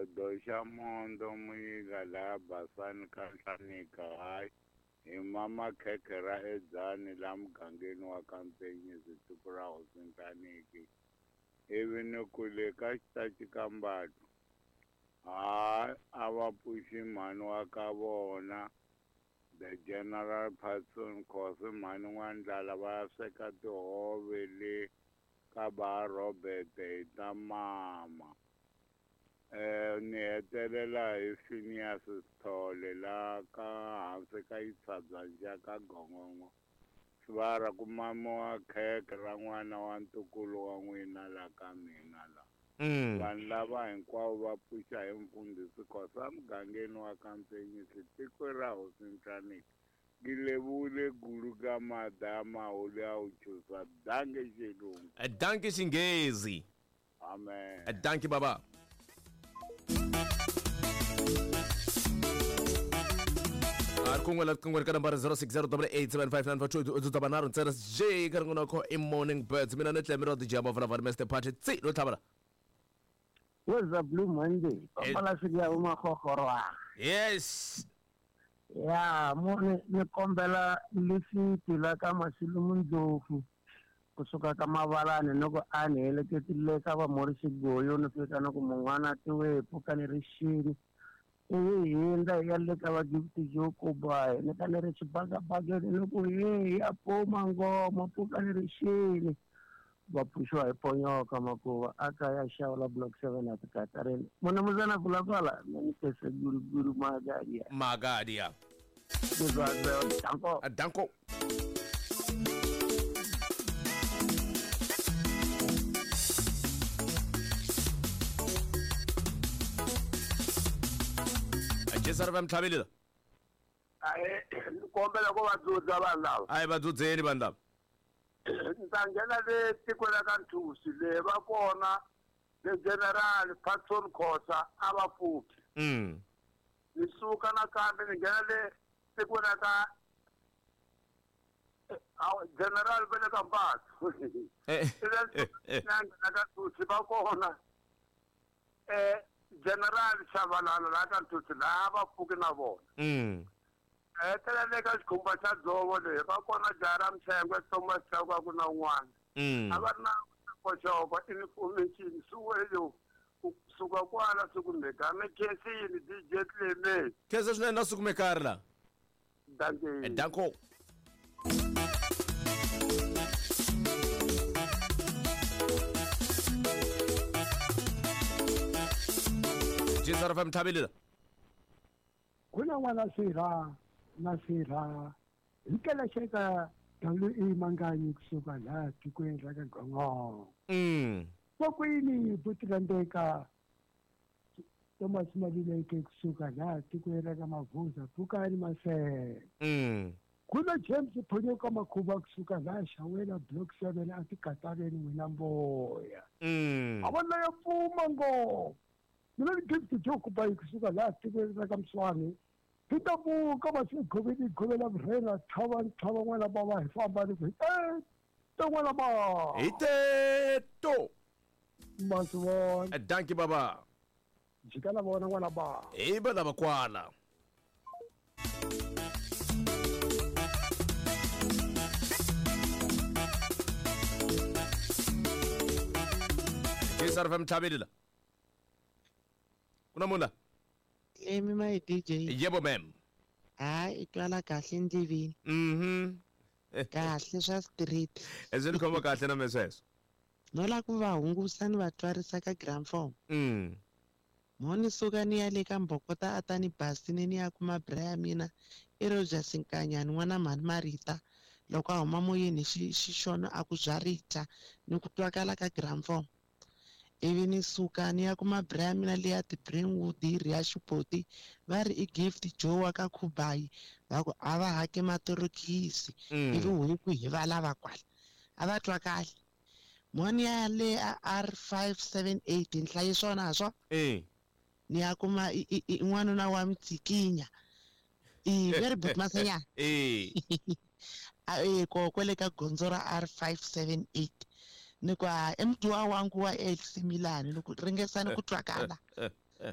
Xigodo xa mondo muyika laha basani ka nhlanika hayi hi mama khekhe ra edzani laha mugangeni wa ka Mpenyisi tiko ra hosi Nhlaniki ivi ni ku le ka xitachi ka Mbatu hayi a va pfuxi mhani wa ka vona the general Patson Khosi mhani N'wandlala va ya sweka tihove le ka ba Robert hi ta mama ni hetelela hi Phineas Sithole la ka hansi ka Yitshabyanja ka Gongongo swi ku mamiwa khekhe ra n'wana wa ntukulu wa n'wina la ka mina la. Vanhu lava hinkwavo va pfuxa hi mfundhisi Khosa mugangeni wa ka Mpenyisi tiko ra hosi Nhlaniki ngilevule gulu ka madama holi a wu chusa danke xilungu. Danke xinghezi. Amen. Danke baba. A ri kun'we la kun'we ka nambara 06087594 u ta va nharhu ntsena j ka rin'wana kho i morning birds mina ni tlemi ra DJ Mavula Mr Party tsi lo tlhavela. What's up, Blue Monday? Papa la ya umahogorwa. Yes. Ya, mo ni kombela lifiti la ka Masilumu Ndlovu kusuka ka Mavalani ni ku a ni heleketile ka va Mori Xigoyo ni fika ni ku mun'wana tiwe pfuka ni ri xini ivi hi hundza hi ya le ka va Gift Joe Kubayi ni ka ni ri xibakabakeni ni ku he ya puma ngoma pfuka ni ri xini va pfuxiwa hi ponyoka makuva a ka ya xawula block 7 a tikatareni munamuzana pulapala ni pese guruguru magadia Magadia. Danko. Danko. Jesar va mtlhavelela. Ahe, ni kombela ku va dzudza vanhu lava. A hi va dzudzeni vanhu lava. Ni ta nghena le tikweni ra ka Nthusi le va kona le General Patson Khosa a va pfuki. Ni suka nakambe ni nghena le tikweni ra ka General va le ka Mbathu. Na nghena ka Nthusi va kona General Shabalala laha ka Nthusi laha va pfuki na vona. Hetelela le ka xikhumba xa dzovo leyi va kona jaha ra Mtshengwe Thomas Chauke ku na un'wana. A va ri na xokoxoko information swi kusuka kwala swi kumeka mi khensini DJ Clement. Khensa swinene na swi kumekari la. Danke. Danko. Jisara fam thabile. Kuna n'wana sirha na sirha hi kelexeka WE Manganyi kusuka laha tikweni ra ka Gongongo. Kokwini Butirandeka Thomas Mabileke kusuka laha tikweni ra ka Mavuza Pfukani Masele. Kuna James Phonyoka Makhuba kusuka laha Xawela Block 7 a tikatareni n'wina mboya. A va leyo pfuma ngopfu. Mina ni Gift Joe Kubayi kusuka laha tikweni ra ka Mswani. Peter Buka va swi govela vurhena tlhava tlhava n'wana bava hi famba ni ku hi te n'wana bava. Hi teto. Ma swi vona. Danki baba. Jika na vona n'wana bava. Hi va lava kwala. Jesar fm tlhabele la. Kuna munhu la? Emi my DJ. Yebo ma'am. Hayi i twala kahle endleveni. Kahle swa street. Swi ni khoma kahle na me sweswo. No la ku va hungusa ni va twarisa ka gramophone. Mo ni suka ni ya le ka Mbokota a ta ni basini ni ya kuma bra ya mina i Rogers Nkanyani n'wana mhani Marita loko a huma moyeni xixono a ku bya rita ni ku twakala ka gramophone. Ivi ni suka ni ya kuma bra ya mina leya ti-Brentwood yi ri ya Xipoti va ri i Gift Joe wa ka Khubayi va ku a va hake matorokisi. Ivi huku hi va lava kwala a va twa kahle. Moni ya le R578 nhlayi swona swo. Ni ya kuma n'wanuna wa Mtsikinya. Very good Masenya. Ko kwele ka gondzo ra R578. Ni kwa mntu wa wangu wa AC Milan ni ku ringesani ku twakala.